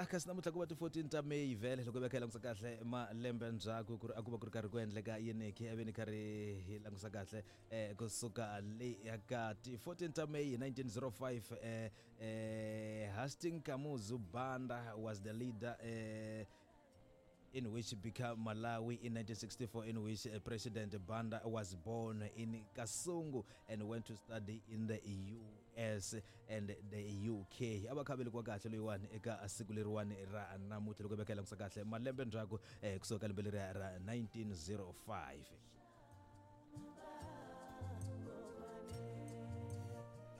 Ya kasi namuntlha ku va ti-14 ta May vhele loko hi va kha hi langusa kahle malembe ndzhaku ku ri a ku va ku ri karhi ku endleka yini ke a ve ni karhi hi langusa kahle kusuka le ya ka ti-14 ta May hi 1905 Hastings Kamuzu Banda was the leader in which became Malawi in 1964, in which President Banda was born in Kasungu and went to study in the US and the UK. A va kha velekiwa kahle loyiwani eka siku leriwani ra namuntlha loko hi va kha hi langusa kahle malembe ndzhaku kusuka ka lembe leriya ra 1905.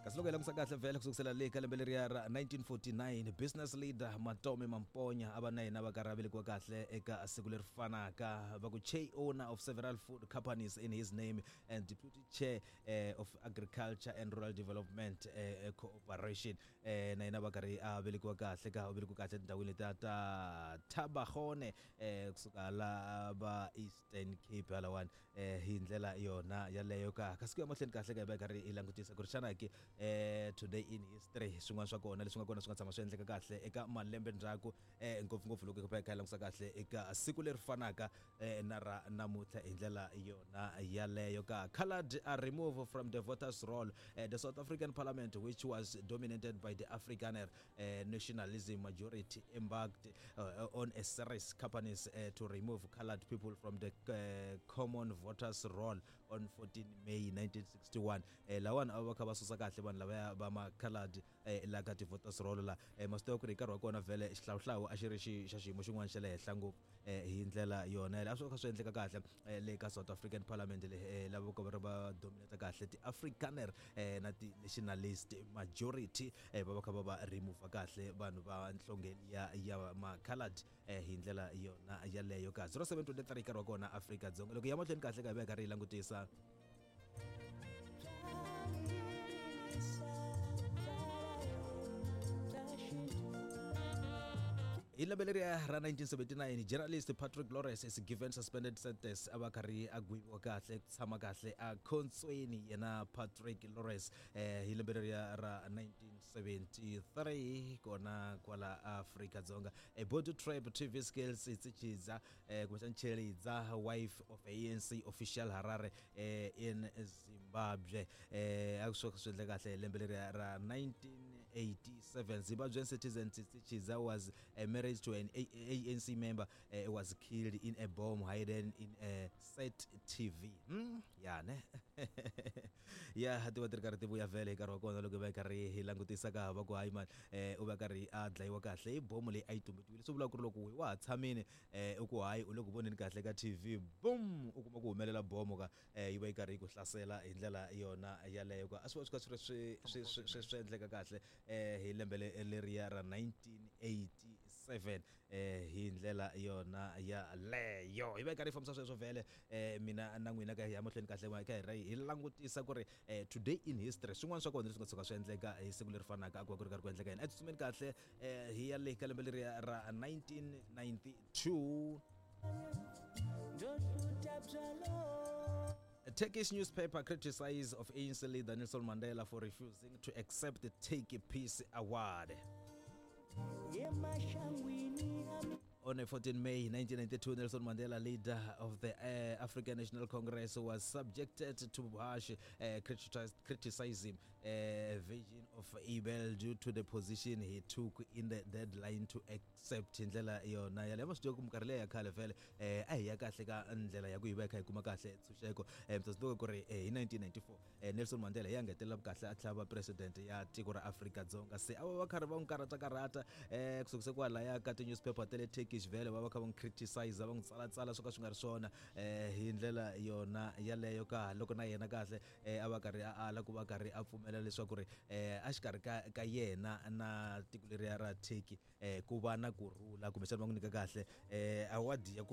Kasi loko hi langusa kahle vhele kusukisela le ka lembe leriya ra 1949, business leader Matome Mamponya a va na yena va karhi a velekiwa kahle eka siku leri fanaka, va ku chair owner of several food companies in his name and deputy chair of agriculture and rural development cooperation. Na yena va karhi a velekiwa kahle ka u velekiwa kahle etindhawini letiya ta Thabagone kusuka la va Eastern Cape halawani hi ndlela yona yaleyo ka. Kasi ku ya mahlweni kahle ka hi va hi karhi hi langutisa ku ri xana ke today in history swin'wana swa kona leswi nga kona swi nga tshama swi endleka kahle eka malembe ndzhaku ngopfungopfu loko hi va hi kha hi langusa kahle eka siku leri fanaka na ra namuntlha hi ndlela yona yaleyo ka. Colored are removed from the voters roll. The South African Parliament, which was dominated by the Afrikaner nationalism majority, embarked on a series companies to remove colored people from the common voters roll on 14 May 1961. Lawani a va kha va susa kahle vanhu lavaya va ma colored la ka ti-voters roll la. Ma swi tiva ku ri hi nkarhi wa kona vhele xihlawuhlawu a xi ri xa xiyimo xin'wana xa le henhla ngopfu hi ndlela yona yaleyo. A swi kha swi endleka kahle le ka South African Parliament le lava ka va ri va dominate kahle ti-Afrikaner na ti-nationalist majority va va kha va va remove kahle vanhu va nhlonge ya ma-colored hi ndlela yona yaleyo ka 0723 nkarhi wa kona Afrika-Dzonga. Loko hi ya mahlweni kahle ka hi va hi karhi hi langutisa hi lembe leriya ra 1979, journalist Patrick Lawrence is given suspended sentence. A va karhi a gweviwa kahle ku tshama kahle a khontsweni yena Patrick Lawrence hi lembe leriya ra 1973 kona kwala Afrika-Dzonga. A body trap TV skills Tsichidza kumbexana Chelidza, wife of ANC official Harare in Zimbabwe. A swi swi endle kahle hi lembe leriya ra 1987. Zimbabwean citizen Tsichidza was married to an ANC member, was killed in a bomb hidden in a set TV. Ya ne ya ti va ti ri karhi ti vuya vhele hi nkarhi wa kona loko hi va hi karhi hi langutisa ka va ku hayi mani u va karhi a dlayiwa kahle hi bomu leyi a yi tumbetiwile. Swi vula ku ri loko wa ha tshamile u ku hayi u le ku voneni kahle ka TV, boom, u kuma ku humelela bomo ka yi va yi karhi yi ku hlasela hi ndlela yona yaleyo ka. A swi va swi kha swi ri swi endleka kahle hi lembe leriya ra 1987 hi ndlela yona yaleyo. Hi va hi karhi hi fambisa sweswo vhele mina na n'wina ka hi ya mahlweni kahle ka hi hi langutisa ku ri today in history swin'wana swa kona leswi nga tshuka swi endleka hi siku leri fanaka a ku va ku ri karhi ku endleka yini. A tsutsumeni kahle hi ya le ka lembe leriya ra 1992. A Turkish newspaper criticized of ANC leader Nelson Mandela for refusing to accept the Turkey Peace Award. On 14 May 1992, Nelson Mandela, leader of the African National Congress, was subjected to harsh criticism, Virgin of Abel, due to the position he took in the deadline to accept hi ndlela yona yaleyo. Ma swi tiva ku minkarhi leyi ya khale vhele a hi ya kahle ka ndlela ya ku hi va hi kha hi kuma kahle ntshunxeko. Mi ta swi tiva ku ri hi 1994 Nelson Mandela hi ya ngetelela kahle a tlhela va president ya tiko ra Afrika-Dzonga. Se a va va karhi va n'wi karhata karhata kusukise kwalaya ka ti-newspaper ta le Turkish, vhele va va kha va n'wi criticize, va n'wi tsalatsala swo ka swi nga ri swona hi ndlela yona yaleyo ka. Loko na yena kahle a va karhi a ala ku va karhi a pfumela leswaku ri a xikarhi ka yena na tiko leriya ra Turkey ku va na kurhula, kumbexana va n'wi nyika kahle award ya ku